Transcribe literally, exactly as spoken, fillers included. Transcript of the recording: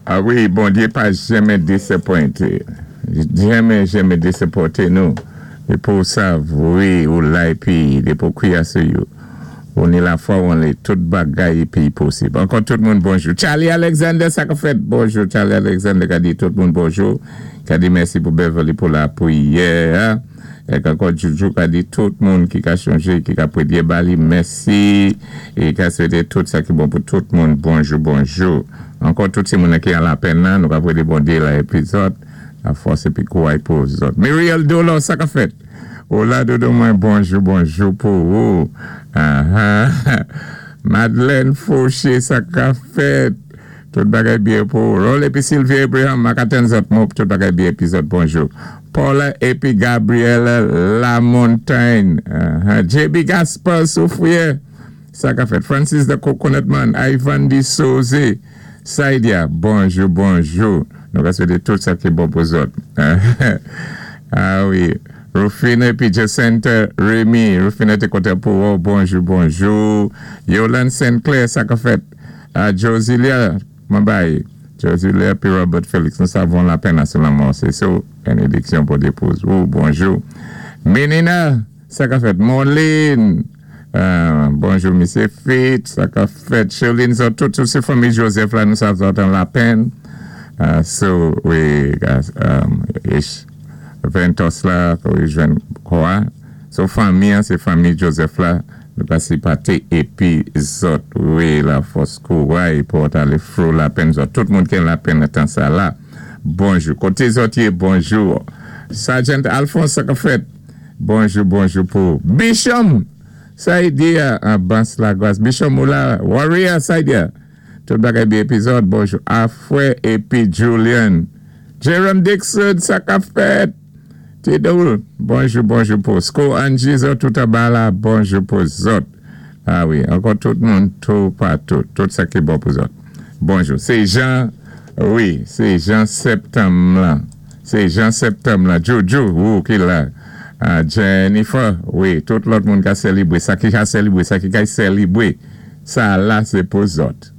A wi, Bondyé pa janmen disapwenté. Janmen, janmen disapwenté nou. Dépi ou sav, wi, ou la épi, dépi ou kwiyé sou yo. Ou ni lafwa ou an li, tout bagay épi posib. Ankò tout moun bonjou. Charlie Alexander, sa ka fèt? Bonjou, Charlie Alexander, ka di tout moun bonjou. Ka di mèsi pou Beverly pou lapriyè. Épi ankò Juju ka di tout moun ki ka chonjé, ki ka pwédyé ba li, mèsi. É ka swété tout sa ki bon pou tout moun. Bonjou, bonjou. Ankò tout ti moun ki an lapenn nan, nou ka pwédyé Bondyé la épi zòt, lafòs épi kouway pou zòt. Muriel Dolo, sa ka fèt? Ola dodo mwen, bonjou, bonjou pou ou. Madeleine Fauché, sa ka fèt? Tout bagay byen pou ou. Rol épi Sylvie Abraham, makaten zòt mou, tout bagay byen épi zòt, bonjou. Paula épi Gabrielle Lamontagne. J B Gaspar Soufrier, sa ka fèt? Francis the Coconut Man, Ivan Di Soze, Saidia, bonjou, bonjou. Nou ka swété tout sa ki bon pou zòt. A wi. Rufina épi Jacinta Remy. Rufina té kontan pou ou. Bonjou, bonjou. Yolande Saint-Clair, sa ka fèt? Josilia, mabay. Josilia épi Robert Felix. Nou savon lapenn sou lanmò. Sé so, bénédiksyon pou dépose. Ou, bonjou. Menina, sa ka fèt? Moline. Bonjou, Misye Fitz. Sa ka fèt? Charlene, so, tout, tout sé fanmi Joseph la, nou sav zòt an lapenn. So, wi, ish, Ventos la, wi, jwenn kwa. So, fanmi, sé fanmi Joseph la, nou ka sipòté épi zòt, wi, lafòs kouway pou alé fwou lapenn zòt. Tout moun ki lapenn tan sa la. Bonjou. Koté zòt yé, bonjou. Sergeant Alphonse, sa ka fèt? Bonjou, bonjou pou Bishop. Saidia, an Bans Lagwas. Bishop Moula, Warrior, Saidia. Tout bagay byen épi zòt, bonjou. Afwe épi Julian. Jerome Dixon, sa ka fèt? Tidoul, bonjou, bonjou pou Sko Angie, zòt tout abala, bonjou pou zòt. A wi, ankò tout moun, tout patou, tout sa ki bon pou zòt. Bonjou. Sé Jean, wi, sé Jean Septanm la. Sé Jean Septanm la. Jojo, ou ki la. Jennifer, wi, tout lòt moun ka sélibwé. Sa ki ka sélibwé, sa ki ka sélibwé. Sa la, sé pou zòt.